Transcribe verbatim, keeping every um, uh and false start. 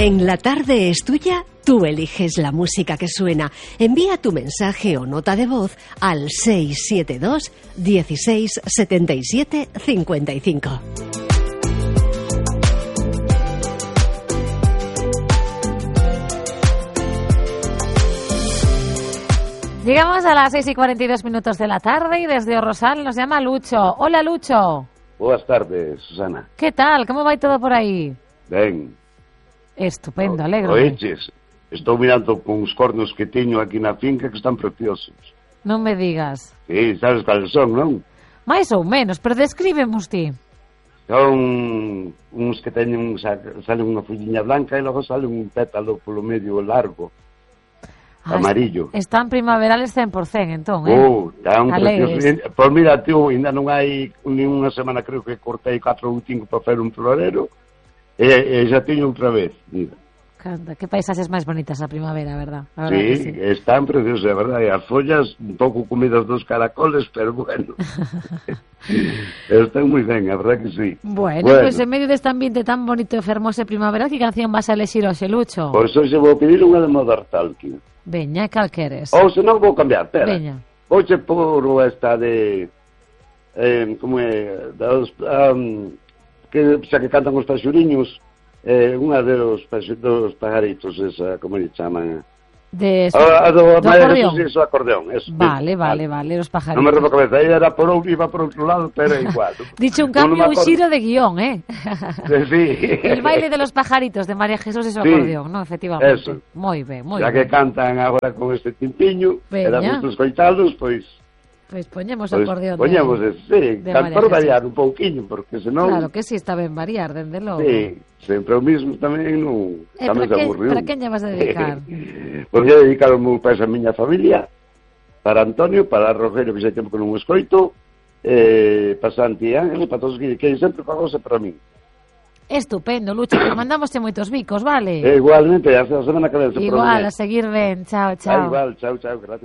En La Tarde es Tuya, tú eliges la música que suena. Envía tu mensaje o nota de voz al seis siete dos, dieciséis, setenta y siete, cincuenta y cinco. Llegamos a las seis y cuarenta y dos minutos de la tarde y desde O Rosal nos llama Lucho. Hola, Lucho. Boas tardes, Susana. ¿Qué tal? ¿Cómo va todo por aí? Ben. Estupendo, alegro. Oeches, estou mirando con os cornos que teño aquí na finca que están preciosos. Non me digas. Sí, sabes cales son, non? Mais ou menos, pero descríbemos ti. Son uns que teñen, sale unha folliña blanca e logo sale un pétalo polo medio largo. Ah, amarillo. Están primaverales cen por cento, entón, eh? Oh, tan Alegres. precioso. Pois mira, tío, ainda non hai ni unha semana, creo que cortei catro ou cinco para facer un florero e, e xa teño outra vez, mira. Canta, que paisaxes máis bonitas a primavera, verdad? A verdad Sí, que sí, están preciosas, a verdade. As follas un pouco comidas dos caracoles, pero bueno. Están moi ben, a verdade que sí. Bueno, bueno. pues en medio deste ambiente tan bonito e fermoso e primaveral, que canción vas a elexir hoxe, Lucho? Pois hoxe vou pedir unha de Modern Talking. Veña, cal queres? Ou se non vou cambiar, pera. Veña. Hoxe por esta de... Eh, como é? Dos, um, que, xa que cantan os paxuriños, eh, unha de los, dos pajaritos, esa, como lle chaman? De, so, a, a do, do acordeón. Sí, eso, acordeón. Eso, vale, eso, vale, vale, os pajaritos. Non me rebo a cabeza, aí era por outro, iba por outro lado, pero igual. Dicho un cambio, un xiro de guión, eh? Sí. El baile de los pajaritos de María Jesús y su sí, acordeón, ¿no? Efectivamente. Eso. Moi ben, moi ben. Ya que cantan agora con este timpiño, e damos os coitados, pois... Pois poñemos o pues, acordeón poñemos de, ese, sí, de can, por variar un pouquiño, porque senón... Claro que sí, está ben variar, dende logo. Sí, sempre o mismo tamén non... Eh, para, que, para quen lle vas a dedicar? Pois lle dedicar o meu país a miña familia, para Antonio, para Rogelio, que xa tempo que non o escoito, eh, para Santi Ángel, para todos que, que sempre pagose para mí. Estupendo, Lucho, pues mandámoste moitos bicos, vale? Eh, igualmente, hasta a semana que vence. Igual, a seguir ben, chao, chao. Ah, igual, chao, chao, gracias.